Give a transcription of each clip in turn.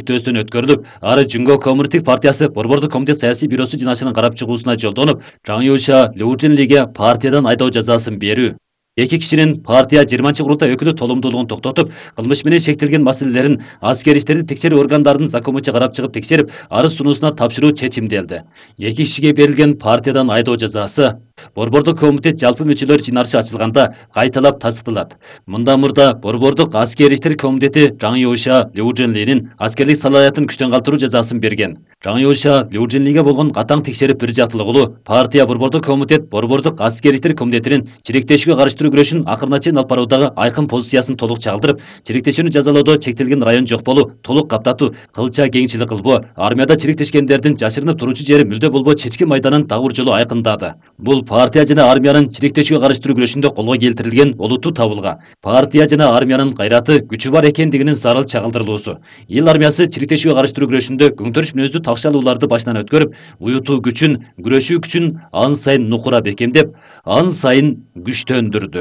илтөөстөн өткөрүлүп, ары Жүнгө Коммунисттик партиясы Борбордук комитет саясий бюросу жыйналышынын карап чыгуусуна жолдонуп, Жаңы Юша Лю Жинлиге партиядан айдоо жазасын берүү. Эки кишинин партия 20-курултай өкүлү толомдуулугун токтотуп, кылмыш менен шектелген маселелерин аскер иштерди текшерүү органдарынын законча карап чыгып текшерип, арыз сунуусуна тапшыруу чечимделди. Эки кишиге берилген партиядан айдоо жазасы Борбордук комитет жалпы мүчөлөр жыйналышы ачылганда кайталап тастыкталат. Мындан мурда Борбордук аскер иштер комитети Жаңы Юша Лю Жинлинин аскерлик салаятын күчтөн калтыруу жазасын берген. Жаңы Юша Лю Жинлиге болгон катаң текшерип бир жактылыгылуу партия Борбордук комитет Борбордук аскер иштер комитетинин чириктешүүгө каршы күрөшүн акырына чейин алып баруудагы айкын позициясын толук чагылдырып, чириктешүүнү жазалоодо чектелген район жок болуу, толук каптатуу, кылча кеңчилик кылбоо, армияда чириктешкендердин жашырынып туручу жери мүлдө болбоо чечки майданын дагы бир жолу айкындады. Бул партия жана армиянын чириктешүүгө каршы күрөшүндө колго келтирилген олуттуу табылга. Партия жана армиянын кайраты, күчү бар экендигинин зарыл чагылдырылуусу. Эл армиясы чириктешүүгө каршы күрөшүндө күңтөрүш мүнөздүү такшалууларды башынан өткөрүп, уютуу күчүн, күрөшүү күчүн ан сайын нукура бекемдеп, ан сайын күчтөндүрдү.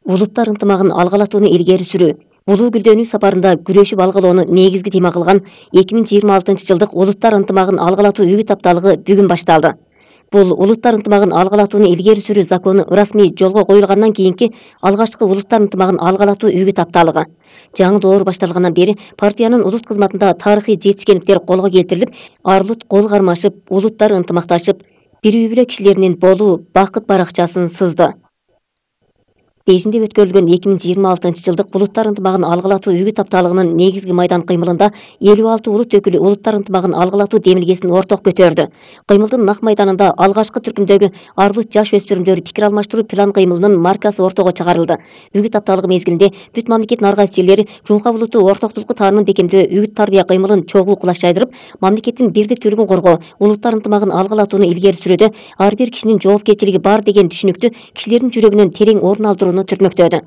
Улуттар ынтымагын алгалатууну илгери сүрүү. Улуу Гүлдөнүү сапарында күрөшүп алгалоону негизги тема кылган 2026 жылдык улуттар ынтымагын алгалатуу үгүт тапталыгы бүгүн башталды. Бул улуттар ынтымагын алгалатууну илгери сүрүү закону ырасмий жолго коюлгандан кийинки алгачкы улуттар ынтымагын алгалатуу үгүт тапталыгы. Жаңы доор башталгандан бери партиянын улут кызматында тарыхый жетишкендиктер колго келтирилип, арлут кол кармашып, улуттар ынтымакташып, бир үй-бүлө кишилеринин болуу бакыт баракчасын сызды. Бейжинде өткөрүлгөн 2026 жылдык улуттар ынтымагын алгалатуу үгүт тапталыгынын негизги майдан кыймылында 56 улут өкүлү улуттар ынтымагын алгалатуу демилгесин орток көтөрдү. Кыймылдын нак майданында алгачкы түркүмдөгү арлут жаш өспүрүмдөр пикир алмаштыруу план кыймылынын маркасы ортого чыгарылды. Үгүт тапталыгы мезгилинде бүт мамлекет наргайс жерлери Жумка улуту ортоктулукту таанымын бекемдөө үгүт тарбия кыймылын чогуу кулаш жайдырып, мамлекеттин бирдиктүүлүгүн коргоо, улуттар ынтымагын алгалатууну илгери сүрүүдө ар бир кишинин жоопкерчилиги бар деген түшүнүктү кишилердин жүрөгүнөн терең орун алдырууну түртмөктөдү.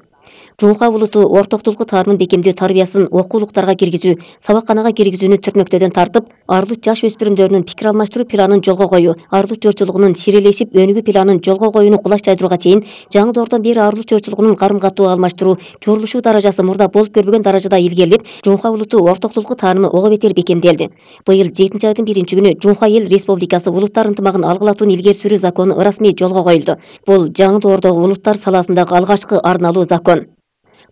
Жумка улуту ортоктулукту таанымын бекемдөө тарбиясын окуулуктарга киргизүү, сабакканага киргизүүнү түртмөктөдөн тартып, арлут жаш өспүрүмдөрүнүн пикир алмаштыруу планын жолго коюу, арлут жорчулугунун сирелешип өнүгүү планын жолго коюуну кулаш жайдырууга чейин жаңы доордон бери арлут жорчулугунун карым-катуу алмаштыруу, журулушуу даражасы мурда болуп көрбөгөн даражада илгерилип, Жумка улуту ортоктулукту таанымы ого бетер бекемделди. Быйыл 7 айдын 1-күнү Жумка эл республикасы улуттар ынтымагын алгалатууну илгери сүрүү закону ырасмий жолго коюлду. Бул жаңы доордогу улуттар саласындагы алгачкы арналуу закон.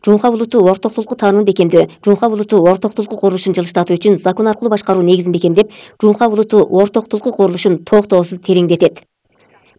Жумка улуту ортоктулукту таанымын бекемдөө, Жумка улуту ортоктулукту курулушун жылыштатуу үчүн закон аркылуу башкаруу негизин бекемдеп, Жумка улуту ортоктулукту курулушун токтоосуз тереңдетет.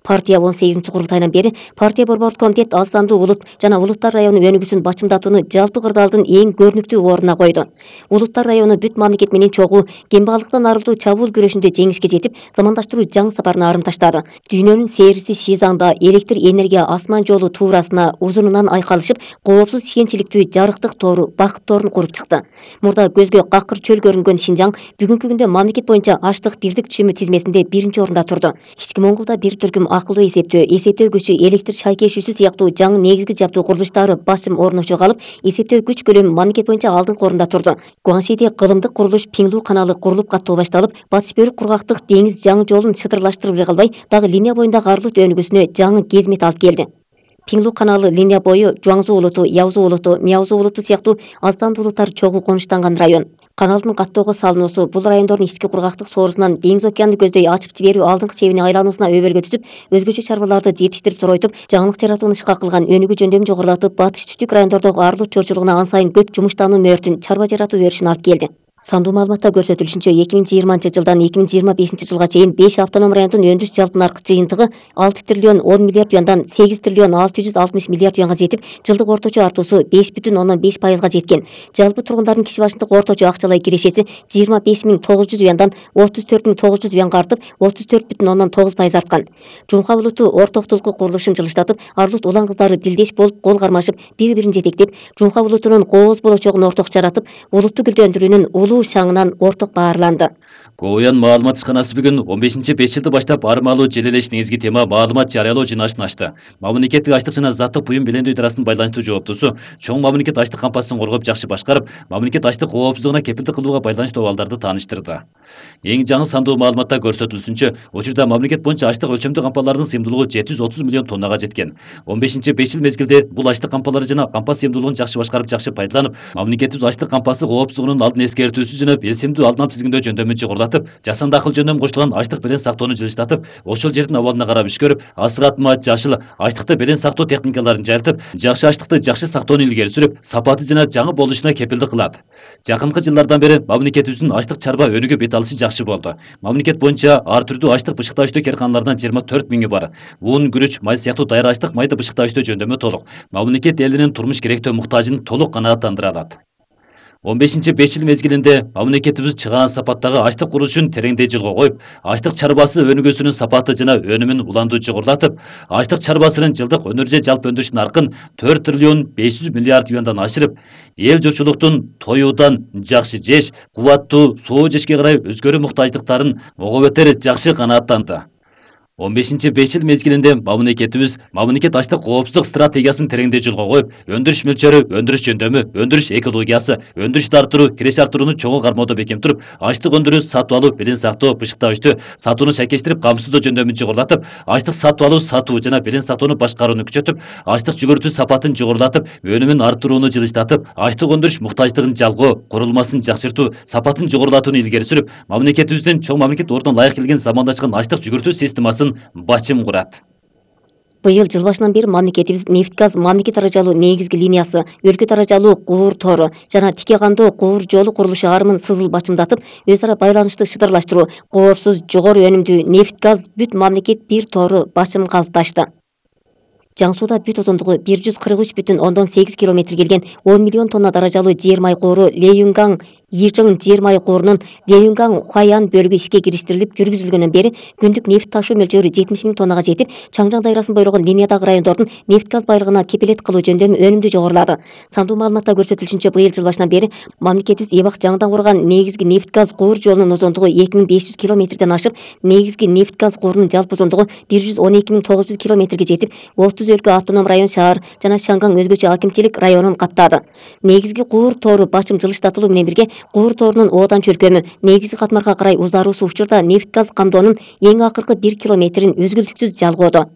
Партия 18 курултайынан бери партия Борбордук комитет аз сандуу улут жана улуттар району өнүгүүсүн бачымдатууну жалпы кырдаалдын эң көрүнүктүү ордуна койду. Улуттар району бүт мамлекет менен чогуу, кембагалыктан арылтуу чабуул күрөшүндө жеңишке жетип, замандаштыруу жаңы сапарына арым таштады. Дүйнөнүн сээриси Шизаңда электр энергия асман жолу туурасына узунунан айкалышып, коопсуз ишенчиликтүү жарыктык тоору, бакыт тоорун куруп чыкты. Мурда көзгө какыр чөл көрүнгөн Шинжаң бүгүнкү күндө мамлекет боюнча аштык бирдик түшүмү тизмесинде 1-орунда турду. Ички Монголда бир түркүм акылдуу эсептөө күчү, электр шайкешүүсү сыяктуу жаңы негизги жабдуу курулуштары басым орночо калып, эсептөө күч көлөмү мамлекет боюнча алдыңкы орунда турду. Гуаншиде кылымдык курулуш Пиңлу каналы курулуп каттоо башталып, Батыш Бөрүк кургактык деңиз жаңы жолун шытырлаштырып калбай, дагы линия боюндагы арлут өнүгүүсүнө жаңы кезмет алып келди. Пиңлу каналы линия бою Жуаңзу улуту, Яузу улуту, Мяузу улуту сыяктуу аз сандуу улуттар чогуу конуштанган район. Каналдын каттоого салынуусу бул райондордун ички кургактык соорусунан деңиз океанды көздөй ачып жиберүү алдыңкы чебине айлануусуна өбөлгө түзүп, өзгөчө чарбаларды жетиштирип зоройтуп, жаңылык жаратууну ишка кылган өнүгүү жөндөмүн жогорулатып, батыш түштүк райондордогу арлут чорчулугуна ан сайын көп жумуштануу мөөртүн, чарба жаратуу өрүшүн алып келди. Сандуу маалыматта көрсөтүлүшүнчө 2020 жылдан 2025 жылга чейин 5 автоном райондун өндүрүш жалпы наркы жыйынтыгы 6 триллион 10 миллиард юандан 8 триллион 660 миллиард юанга жетип, жылдык орточо артуусу 5,5% жеткен. Жалпы тургундардын киши башындык орточо акчалай кирешеси 25.900 юандан 34.900 юанга артып, 34,9% арткан. Жумка улуту ортоктулукту курулушун жылыштатып, арлут улан кыздары дилдеш болуп, кол кармашып, бири-бирин жетектеп, Жумка улутунун кооз болочогун орток жаратып, улутту гүлдөндүрүүнүн улуу шаңынан орток баарланды. Коуян маалымат ишканасы бүгүн 15-5 жылды баштап армалуу желелеш негизги тема маалымат жарыялоо жыйналышын ачты. Мамлекеттик ачлык жана заттык буюм белемдөө идарасынын байланыштуу жооптусу чоң мамлекет ачлык кампасын коргоп жакшы башкарып, мамлекет ачлык коопсуздугуна кепилдик кылууга байланыштуу абалдарды тааныштырды. Эң жаңы сандуу маалыматта көрсөтүлүшүнчө, учурда мамлекет боюнча ачлык өлчөмдүү кампалардын сыйымдуулугу 730 миллион тоннага жеткен. 15-5 жыл мезгилде бул ачлык кампалары жана кампа сыйымдуулугун жакшы башкарып, жакшы пайдаланып, мамлекеттик ачлык кампасы коопсуздугунун алдын эскертүүсү жана белсемдүү алдын алуу тизгиндөө жөндөмүн чогулдатып, жасанды акыл жөндөмү коштулган ачлык белен сактоону жылыштатып, ошол жердин абалына карап иш көрүп, асыгатма жашыл ачлыкты белен сактоо техникаларын жайылтып, жакшы ачлыкты жакшы сактоону илгери сүрүп, сапаты жана жаңы болушуна кепилдик кылат. Жакынкы жылдардан бери мамлекетибиздин ачлык чарба өнүгүү бет алышы жакшы болду. Мамлекет боюнча ар түрдүү ачлык бышыктагычтуу карканалардан 24 миңи бар. Бун, күрүч, май сыяктуу даяр ачлык майды бышыктагычтуу жөндөмү толук. Мамлекет элинин турмуш керектөө муктажын толук канааттандыра алат. 15-5 жыл мезгилинде мамлекетибиз чыгаан сапаттагы ачлык курулушун тереңдей жолго коюп, ачлык чарбасы өнүгүүсүнүн сапаты жана өнүмүн уланду жогорулатып, ачлык чарбасынын жылдык өнөр же жалпы өндүрүш наркын 4 триллион 500 миллиард юандан ашырып, эл журтчулуктун тоюудан жакшы жеш, кубаттуу соо жешке карай өзгөрүү муктаждыктарын ого бетер жакшы канааттанды. 15-5 жыл мезгилинде мамлекет ачлык коопсуздук стратегиясын тереңдей жолго коюп, өндүрүш мөлчөрү, өндүрүш жөндөмү, өндүрүш экологиясы, өндүрүштү арттыруу, киреш арттырууну чоңу кармоодо бекем туруп, ачлык өндүрүү, сатып алуу, белен сактоо, бышыктагычтуу сатууну шайкештирип, камсыздоо жөндөмүн жогорулатып, ачлык сатып алуу, сатуу жана белен сактоону башкарууну күчөтүп, ачлык жүгүртүү сапатын жогорулатып, өнүмүн арттырууну жылыштатып, ачлык өндүрүш муктаждыгын жалгоо, курулмасын жакшыртуу, сапатын жогорулатууну илгери сүрүп, мамлекетибиздин чоң мамлекет ордуна ылайык келген замандашкан ачлык жүгүртүү системасын бачым курат. Быйыл жыл башынан бери мамлекетибиз нефть-газ мамлекет даражалуу негизги линиясы, өлкө даражалуу куур тору жана тике кандоо куур жолу курулушу арымын сызыл бачымдатып, өз ара байланышты шыдырлаштыруу, коопсуз, жогору өнүмдүү нефть-газ бүт мамлекет бир тору бачым калыпташты. Жаң сууда бүт узундугу 143,8 километр келген 10 миллион тонна даражалуу жер май кууру Леюнгаң Йичың жер май куурунун Леюнгаң Хуаян бөлүгү ишке кириштирилип жүргүзүлгөндөн бери күндүк нефть ташуу мөлчөрү 70 миң тоннага жетип, Чаңжаң дайрасын бойлогон линиядагы райондордун нефть-газ байлыгына кепилет кылуу жөндөмү өнүмдүү жогорулады. Сандуу маалыматта көрсөтүлүшүнчө, быйыл жыл башынан бери мамлекетибиз Эбак жаңыдан курган негизги нефть-газ куур жолунун узундугу 2500 километрден ашып, негизги нефть-газ куурунун жалпы узундугу 112.900 километрге жетип, 30 өлкө автоном район шаар жана Шаңгаң өзгөчө акимчилик районун каптады. Негизги куур тору бачым жылыштатылуу менен бирге куур торунун оодан чөлкөмү негизги катмарга карай узаруусу учурда нефть-газ камдоонун эң акыркы 1 километрин үзгүлтүксүз жалгоодо.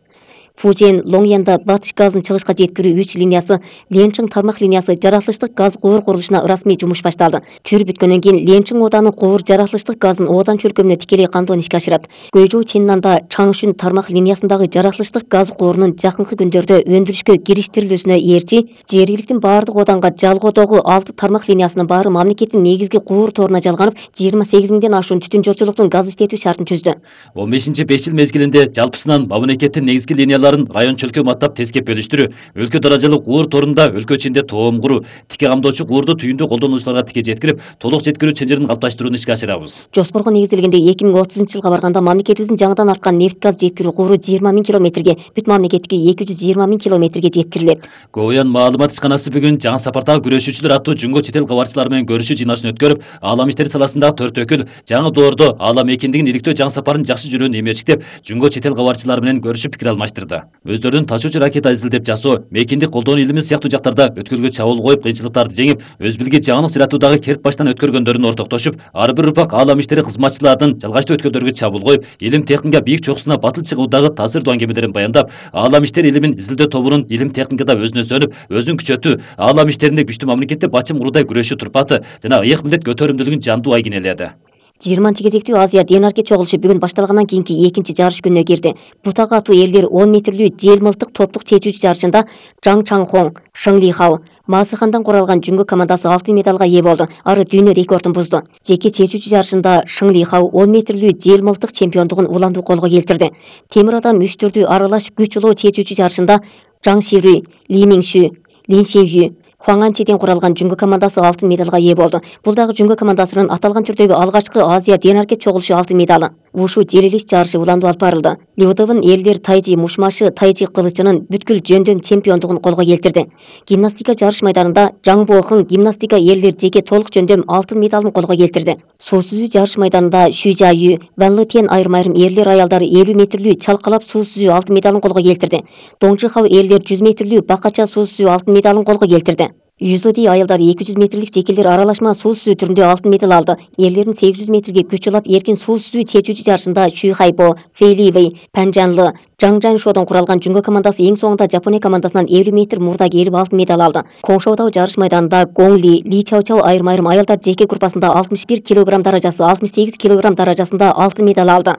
Фужен Лоңьянда батыш газын чыгышка жеткирүү 3 линиясы, Ленчиң тармак линиясы жаратылыштык газ куур курулушуна расмий жумуш башталды. Түр бүткөндөн кийин Ленчиң ооданы куур жаратылыштык газын оодан чөлкөмүнө тикелей камдоону ишке ашырат. Көйжүү Ченнанда Чаңшүн тармак линиясындагы жаратылыштык газ куурунун жакынкы күндөрдө өндүрүшкө кириштирилүүсүнө ээрчи, жергиликтин баардык ооданга жалгоодогу 6 тармак линиясынын баары мамлекеттин негизги куур торуна жалганып, 28 миңден ашуун түтүн жолчулуктун газ иштетүү шартын түздү. 15-5 жыл мезгилинде жалпысынан мамлекеттин негизги линияларын район чөлкөм аттап тескеп бөлүштүрүү, өлкө даражалуу куур торунда өлкө ичинде тоом куруу, тике камдоочу куурду түйүндүү колдонуучуларга тике жеткирип, толук жеткирүү ченжерин калыпташтырууну ишке ашырабыз. Жоспорго негизделгенде 2030-жылга барганда мамлекетибиздин жаңыдан арткан нефть-газ жеткирүү кууру 20 миң километрге, бүт мамлекетке 220 миң километрге жеткирилет. Коуян маалымат ишканасы бүгүн жаңы сапардагы күрөшүүчүлөр аттуу жумго чет эл кабарчылары менен көрүшүү жыйналышын өткөрүп, аалам иштери саласындагы 4 өкүл жаңы доордо аалам экиндигин иликтөө жаңы сапарын жакшы жүрүүнү эмечиктеп, жумго чет эл кабарчылары менен көрүшүп пикир алмаштырды. Өздөрүнүн ташуучу ракета изилдеп жасоо, мекиндик колдоону илими сыяктуу жактарда өткөлгө чабуул коюп, кыйынчылыктарды жеңип, өз билги жаңылык жаратуудагы керт баштан өткөргөндөрүн ортоктошуп, ар бир урпак аалам иштери кызматчыларынын жалгачтуу өткөлдөргө чабуул коюп, илим техника бийик чокусуна батыл чыгуудагы таасирдуу аңгемелерин баяндап, аалам иштери илимин изилдөө тобунун илим техникада өзүнө сөнүп, өзүн күчөтүү, аалам иштеринде күчтүү мамлекетте бачым куруудай күрөшүү турпаты жана ыйык милдет көтөрүмдүүлүгүн жандуу айгинеледи. 20 кезектүү Азия Денарке чогулушу бүгүн башталгандан кийинки экинчи жарыш күнүнө кирди. Бутага атуу элдер 10 метрлүү жел мылтык топтук чечүүчү жарышында Жаң Чаңхон, Шың Лихао, Масыхандан куралган жүнгө командасы алтын медалга ээ болду. Ары дүйнө рекордун бузду. Жеке чечүүчү жарышында Шың Лихао 10 метрлүү жел мылтык чемпиондугун уландуу колго келтирди. Темир адам үч түрдүү аралаш күч улоо чечүүчү жарышында Жаң Ширүй, Ли Мингшү, Лин Шенжү, Хуаңанчиден куралган жүнгө командасы алтын медалга ээ болду. Бул дагы жүнгө командасынын аталган түрдөгү алгачкы Азия денаркет чогулушу алтын медалы. Ушу желилиш жарышы уланды алып барылды. Лиутовун элдер Тайжи Мушмашы Тайжи кылычынын бүткүл жөндөм чемпиондугун колго келтирди. Гимнастика жарыш майданында Жаң Бохун гимнастика элдер жеке толук жөндөм алтын медалын колго келтирди. Суу сүзүү жарыш майданында Шүйжа Ю, Ван Летен айрым эрлер аялдары 50 метрлүү чалкалап суу сүзүү алтын медалын колго келтирди. Доңжихау элдер 100 метрлүү бакача суу сүзүү алтын медалын колго келтирди. Юзоди аялдар 200 метрлик жекелер аралашма суу сүзүү түрүндө алтын медаль алды. Эрлердин 800 метрге күч улап эркин суу сүзүү чечүүчү жарышында Шүйхайбо, Фейливей, Панжанлы, Жаңжаншодон куралган жүнгө командасы эң соңунда Жапония командасынан 50 метр мурда келип алтын медаль алды. Коңшоудагы жарыш майданында Гоңли, Ли Чао айрым аялдар жеке группасында 61 кг даражасы, 68 кг даражасында алтын медаль алды.